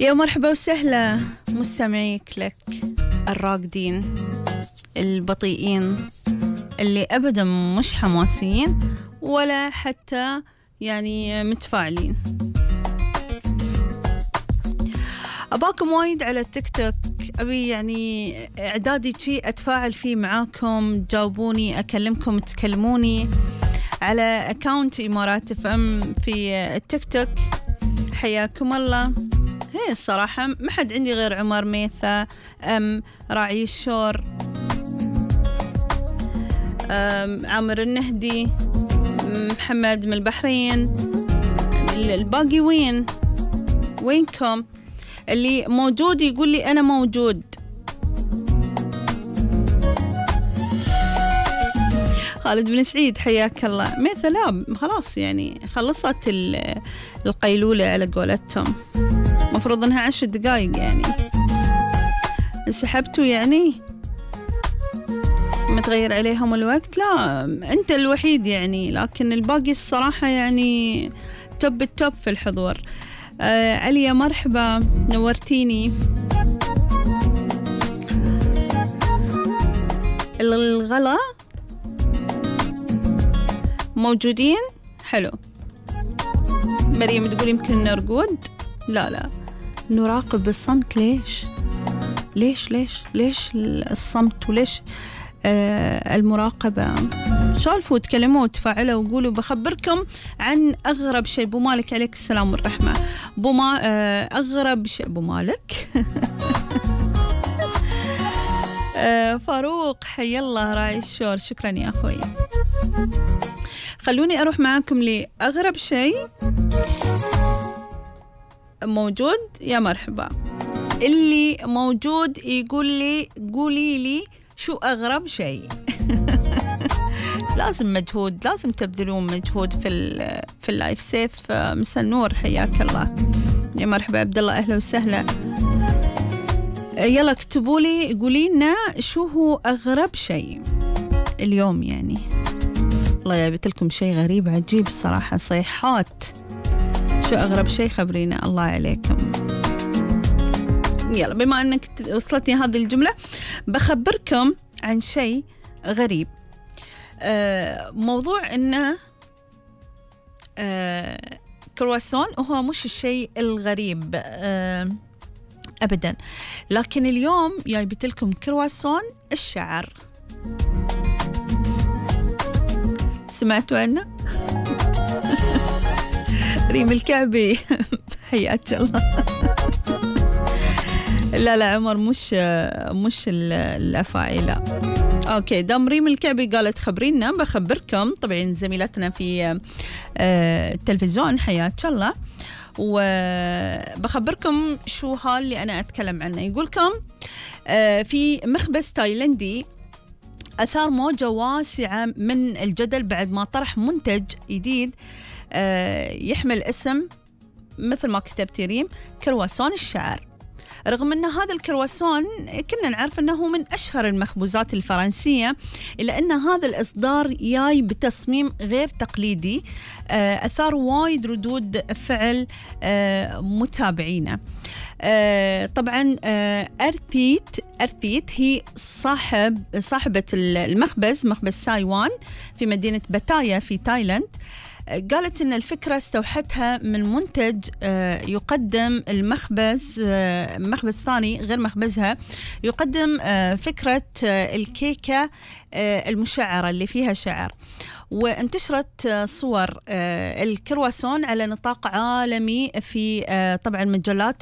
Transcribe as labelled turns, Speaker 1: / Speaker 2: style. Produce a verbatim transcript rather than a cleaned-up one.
Speaker 1: يا مرحبا وسهلا مستمعي كليك الراقدين البطيئين اللي أبدا مش حماسيين ولا حتى يعني متفاعلين. أباكم وايد على التيك توك، أبي يعني إعدادي شي أتفاعل فيه معاكم، تجاوبوني، أكلمكم، تكلموني على أكاونت إمارات اف ام في التيك توك. حياكم الله. هي الصراحة ما حد عندي غير عمر ميثا، أم راعي الشور، أم عامر النهدي، محمد من البحرين، الباقي وين وينكم؟ اللي موجود يقول لي أنا موجود. خالد بن سعيد حياك الله. ميثا لا خلاص يعني خلصت القيلولة على قولتهم، مفروض انها عشر دقايق يعني انسحبتوا يعني متغير عليهم الوقت. لا انت الوحيد يعني، لكن الباقي الصراحة يعني توب التوب في الحضور. آه عليا مرحبا، نورتيني. الغلا موجودين، حلو. مريم تقول يمكن نرقد، لا لا نراقب بالصمت. ليش ليش ليش ليش الصمت وليش آه المراقبة؟ سولفوا تكلموا وتفاعلوا وقولوا. بخبركم عن أغرب شيء. بو مالك عليك السلام والرحمة. بو ما آه أغرب شيء. بو مالك آه فاروق حي الله راعي الشور، شكرا يا أخوي. خلوني أروح معاكم لأغرب شيء موجود. يا مرحبا، اللي موجود يقول لي قولي لي شو أغرب شيء. لازم مجهود، لازم تبذلون مجهود في ال في اللايف. سيف مسا النور حياك الله. يا مرحبا عبد الله، أهلا وسهلا. يلا اكتبوا لي، قولي لنا شو هو أغرب شيء اليوم يعني. والله جبت لكم شيء غريب عجيب الصراحة، صيحات. شو أغرب شيء؟ خبرينا الله عليكم. يلا بما أنك وصلتني هذه الجملة بخبركم عن شيء غريب. آه موضوع إنه آه كرواسون، وهو مش الشيء الغريب آه أبدا، لكن اليوم جايبت لكم كرواسون الشعر. سمعتوا عنه؟ ريم الكعبي حياك الله. لا لا عمر مش مش الأفاعي لا. اوكي دام ريم الكعبي قالت خبرينا بخبركم. طبعا زميلتنا في التلفزيون حياك الله، وبخبركم شو هال اللي أنا أتكلم عنه. يقولكم في مخبز تايلندي أثار موجة واسعة من الجدل بعد ما طرح منتج جديد يحمل اسم مثل ما كتبت ريم كرواسون الشعر. رغم أن هذا الكرواسون كنا نعرف أنه من أشهر المخبوزات الفرنسية، إلا أن هذا الإصدار جاي بتصميم غير تقليدي أثار وايد ردود فعل متابعينا. طبعا أرثيت أرثيت هي صاحب صاحبة المخبز، مخبز سايوان في مدينة باتايا في تايلاند. قالت إن الفكرة استوحتها من منتج يقدم المخبز مخبز ثاني غير مخبزها، يقدم فكرة الكيكة المشعرة اللي فيها شعر. وانتشرت صور الكرواسون على نطاق عالمي في طبعا مجلات